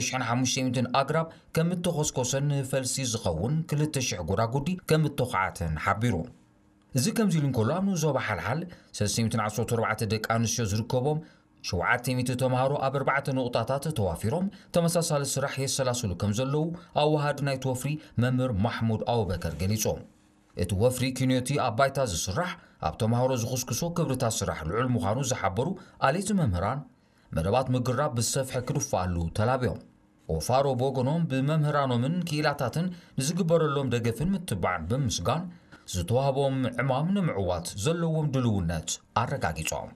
ሽሕን ሓሙሽተ ሚእትን ኣግራብ ከም እተኾስኮሰን ንፈልሲ ዝኸውን ክልተ ሽሕ ጎዳጉዲ ከም እተኹዓተን ሓቢሩ። እዚ ከምዚ ኢሉ እንከሎ፣ ኣብ ንኡስ ዞባ ሓልሓል ሰለስተ ሚእትን ዓሰርተ ኣርባዕተ ደቂ ኣንስትዮ ዝርከቦም ሸውዓተ ሚእቲ ተምሃሮ ኣብ ኣርባዕተ ነቑጣታት ተዋፊሮም ተመሳሳሊ ስራሕ የሰላስሉ ከም ዘለዉ ኣወሃዲ ናይቲ ወፍሪ መምህር ማሕሙድ ኣቡበከር ገሊጹ። እቲ ወፍሪ ኪንዮቲ ኣብ ባይታ ዝስራሕ ኣብ ተምሃሮ ዝኹስኩሶ ክብርታት ስራሕ ልዑል ምዃኑ ዝሓበሩ ኣሌት መምህራን፣ መደባት ምግራብ ብሰፍሒ ክድፋኣሉ ተላብዮም። ኦፋሮ ብወገኖም ብመምህራኖምን ክኢላታትን ንዝግበረሎም ደገፍን ምትባዕን ብምስጋን፣ ዝተዋህቦም ዕማም ንምዕዋት ዘለዎም ድልውነት ኣረጋጊጾም።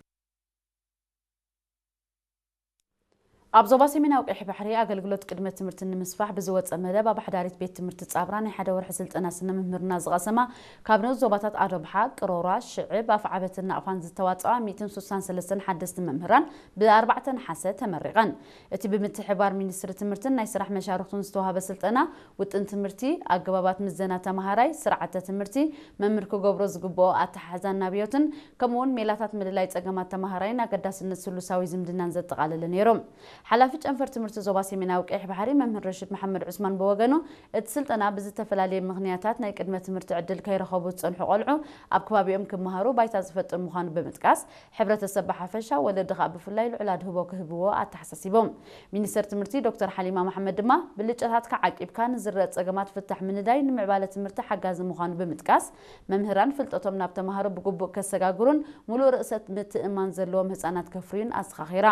ኣብ ዞባ ሰሜናዊ ቀይሕ ባሕሪ ኣገልግሎት ቅድመ ትምህርቲ ንምስፋሕ ብዝወፀ መደብ ኣብ ሓዳሪት ቤት ትምህርቲ ጻብራ ናይ ሓደ ወርሒ ስልጠና ስነ ምምህርና ዝቐሰማ ካብ ንኡስ ዞባታት ኣዶብሓ፣ ቅሮራ፣ ሽዕብ፣ ኣፍዓበትን ናቕፋን ዝተዋፅኣ ሚእትን ስሳን ሰለስተን ሓደስቲ መምህራን ብ ኣርባዕተ ነሓሰ ተመሪቐን። እቲ ብምትሕብባር ሚኒስትሪ ትምህርትን ናይ ስራሕ መሻርኽቱን ዝተዋህበ ስልጠና ውጥን ትምህርቲ፣ ኣገባባት ምዘና ተምሃራይ፣ ስርዓተ ትምህርቲ፣ መምህር ክገብሮ ዝግብኦ ኣተሓሕዛን ናብዮትን፣ ከምኡ እውን ሜላታት ምልላይ ጸገማት ተምሃራይን ኣገዳስነት ስሉሳዊ ዝምድናን ዘጠቓለለ ነይሩ። ሓላፊ ጨንፈር ትምህርቲ ዞባ ሰሜናዊ ቀይሕ ባሕሪ መምህር ረሽድ መሓመድ ዑስማን ብወገኑ፣ እቲ ስልጠና ብዝተፈላለየ ምኽንያታት ናይ ቅድመ ትምህርቲ ዕድል ከይረኸቡ ዝጸንሑ ቆልዑ ኣብ ከባቢኦም ክመሃሩ ባይታ ዝፈጥር ምዃኑ ብምጥቃስ፣ ሕብረተሰብ ብሓፈሻ፣ ወለዲ ከኣ ብፍላይ ልዑል ኣድህቦ ክህብዎ ኣተሓሳሲቦም። ሚኒስተር ትምህርቲ ዶክተር ሓሊማ መሓመድ ድማ፣ ብልጫታትካ ዓቂብካ ንዝረአ ጸገማት ፍታሕ ምንዳይ ንምዕባለ ትምህርቲ ሓጋዚ ምዃኑ ብምጥቃስ፣ መምህራን ፍልጠቶም ናብ ተማሃሮ ብግቡእ ከሰጋግሩን ምሉእ ርእሰ ምትእምማን ዘለዎም ህጻናት ከፍርዩን ኣዘኻኺራ።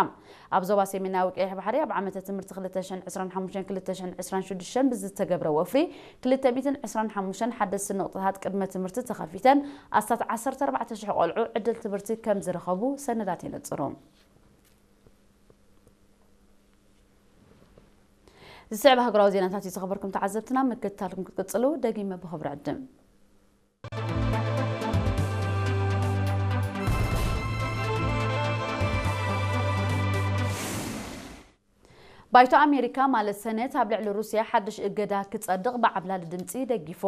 ኣብ ዞባ ሰሜናዊ ቀይሕ ባሕሪ ኣብ ዓመተ ትምህርቲ ክልተ ሽሕን ዕስራን ሓሙሽተን ክልተ ሽሕን ዕስራን ሽዱሽተን ብዝተገብረ ወፍሪ ክልተ ሚእትን ዕስራን ሓሙሽተን ሓደስቲ ንቑጣታት ቅድመ ትምህርቲ ተኸፊተን ኣስታት ዓሰርተ ኣርባዕተ ሽሕ ቆልዑ ዕድል ትምህርቲ ከም ዝረኸቡ ሰነዳት የነጽሩ። ዝስዕብ ሃገራዊ ዜናታት እዩ። ዝኸበርኩም ተዓዘብትና፣ ምክትታልኩም ክትቅጽሉ ደጊመ ብኽብሪ ዕድም። ባይቶ ኣሜሪካ ማለት ሰነት ኣብ ልዕሊ ሩስያ ሓድሽ እገዳ ክጸድቕ ብዓብላሊ ድምጺ ደጊፉ።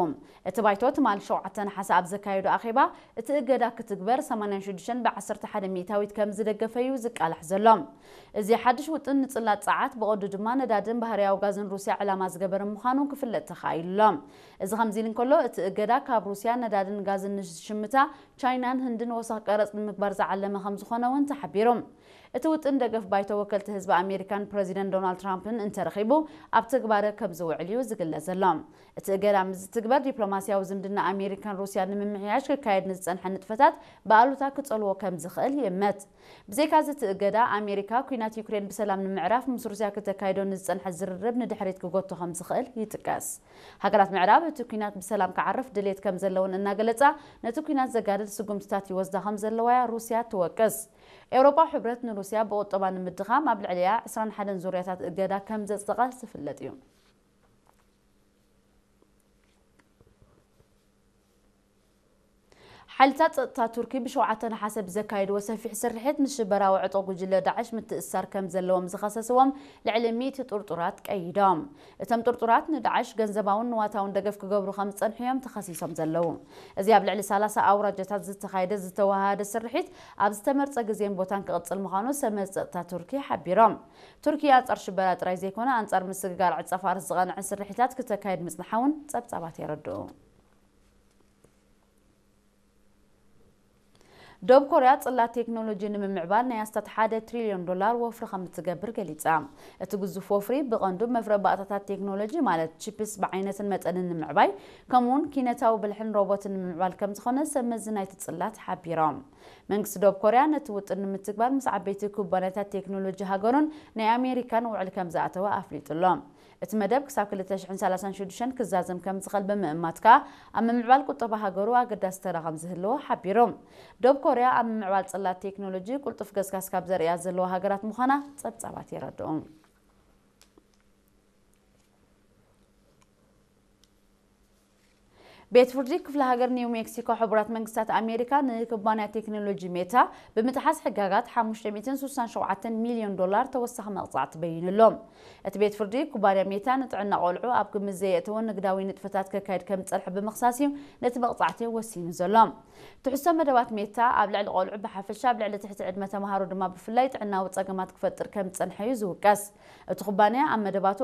እቲ ባይቶ ትማሊ ሸውዓተ ነሓሰ ኣብ ዘካየዶ ኣኼባ እቲ እገዳ ክትግበር ሰማንያን ሽዱሽተን ብዓሰርተ ሓደ ሚእታዊት ከም ዝደገፈ እዩ ዝቃላሕ ዘሎ። እዚ ሓድሽ ውጥን ንጽላት ጸዓት ብቐዱ ድማ ነዳድን ባህርያዊ ጋዝን ሩስያ ዕላማ ዝገበረ ምዃኑ ክፍለጥ ተኻኢሉ ኣሎ። እዚ ከምዚ ኢሉ እንከሎ፣ እቲ እገዳ ካብ ሩስያ ነዳድን ጋዝን ንዝሽምታ ቻይናን ህንድን ወሰኽ ቀረጽ ንምግባር ዝዓለመ ከም ዝኾነ እውን ተሓቢሩ። እቲ ውጥን ደገፍ ባይቶ ወከልቲ ህዝቢ ኣሜሪካን ፕረዚደንት ዶናልድ ትራምፕን እንተረኺቡ ኣብ ተግባረ ከም ዝውዕል እዩ ዝግለጽ ዘሎ። እቲ እገዳ ምስ ዝትግበር ዲፕሎማስያዊ ዝምድና ኣሜሪካን ሩስያን ንምምሕያሽ ክካየድ ንዝጸንሐ ንጥፈታት ብኣሉታ ክጸልዎ ከም ዝኽእል ይእመት። ብዘይካዚ እቲ እገዳ ኣሜሪካ ኲናት ዩክሬን ብሰላም ንምዕራፍ ምስ ሩስያ ክተካይዶ ንዝጸንሐ ዝርርብ ንድሕሪት ክጎቶ ከም ዝኽእል ይጥቀስ። ሃገራት ምዕራብ እቲ ኲናት ብሰላም ክዓርፍ ድሌት ከም ዘለውን እናገለጻ ነቲ ኲናት ዘጋድድ ስጉምትታት ይወስዳ ከም ዘለዋ እያ ሩስያ ትወቅስ። ኤውሮጳዊ ሕብረት ንሩስያ ብቑጠባ ንምድኻም ኣብ ልዕሊኣ ዕስራን ሓደን ዙርያታት እገዳ ከም ዘጽደቐ ዝፍለጥ እዩ። ሓይልታት ጸጥታ ቱርኪ ብሸውዓተ ነሓሰ ብዘካየድዎ ሰፊሕ ስርሒት ንሽበራዊ ዕጡቕ ጉጅለ ዳዕሽ ምትእስሳር ከም ዘለዎም ዝኸሰስዎም ልዕሊ ሚእቲ ጥርጡራት ቀይዶም። እቶም ጥርጡራት ንዳዕሽ ገንዘባውን ንዋታውን ደገፍ ክገብሩ ከም ዝጸንሑ እዮም ተኸሲሶም ዘለዉ። እዚ ኣብ ልዕሊ ሰላሳ ኣውራጃታት ዝተኻየደ ዝተወሃሃደ ስርሒት ኣብ ዝተመርጸ ግዜን ቦታን ክቕጽል ምዃኑ ሰብመዚ ጸጥታ ቱርኪ ሓቢሮም። ቱርኪ ኣንጻር ሽበራ ጥራይ ዘይኮነ ኣንጻር ምስግጋር ዕጸ ፋርስ ዝቐንዐ ስርሒታት ክተካየድ ምጽንሓ እውን ጸብጻባት የረድኡ። ደቡብ ኮርያ ጽላት ቴክኖሎጂ ንምምዕባል ናይ ኣስታት ሓደ ትሪልዮን ዶላር ወፍሪ ከም እትገብር ገሊጻ። እቲ ግዙፍ ወፍሪ ብቐንዱ መፍረ ባእታታት ቴክኖሎጂ ማለት ቺፕስ ብዓይነትን መጠንን ንምዕባይ፣ ከምኡውን ኪነታዊ ብልሕን ሮቦትን ንምምዕባል ከም ዝኾነ ሰብ መዚ ናይቲ ጽላት ሓቢሮም። መንግስቲ ደቡብ ኮርያ ነቲ ውጥን ንምትግባር ምስ ዓበይቲ ኩባንያታት ቴክኖሎጂ ሃገሩን ናይ ኣሜሪካን ውዕል ከም ዝኣተወ ኣፍሊጡ ኣሎ። እቲ መደብ ክሳብ ክልተ ሽሕን ሰላሳን ሽዱሽተን ክዛዘም ከም ዝኽእል ብምእማት ከኣ ኣብ ምምዕባል ቁጠባ ሃገሩ ኣገዳሲ ተራ ከም ዝህልዎ ሓቢሩ። ደቡብ ኮርያ ኣብ ምምዕባል ጽላት ቴክኖሎጂ ቁልጡፍ ገስጋስ ካብ ዘርእያ ዘለዋ ሃገራት ምዃና ጸብጻባት የረድኡ። ቤት ፍርዲ ክፍለ ሃገር ኒው ሜክሲኮ ሕቡራት መንግስታት ኣሜሪካ ንኩባንያ ቴክኖሎጂ ሜታ ብምጥሓስ ሕጋጋት ሓሙሽተ ሚእትን ስሳን ሸውዓተን ሚልዮን ዶላር ተወሳኺ መቕጻዕቲ በይኑሎ። እቲ ቤት ፍርዲ ኩባንያ ሜታ ንጥዕና ቆልዑ ኣብ ግምት ዘየእተወ ንግዳዊ ንጥፈታት ከካይድ ከም ዝጸንሐ ብምኽሳስ እዩ ነቲ መቕጻዕቲ ወሲኑ ዘሎ። ትሕዝቶ መደባት ሜታ ኣብ ልዕሊ ቆልዑ ብሓፈሻ ኣብ ልዕሊ ትሕቲ ዕድመ ተምሃሮ ድማ ብፍላይ ጥዕናዊ ጸገማት ክፈጥር ከም ዝጸንሐ እዩ ዝውቀስ። እቲ ኩባንያ ኣብ መደባቱ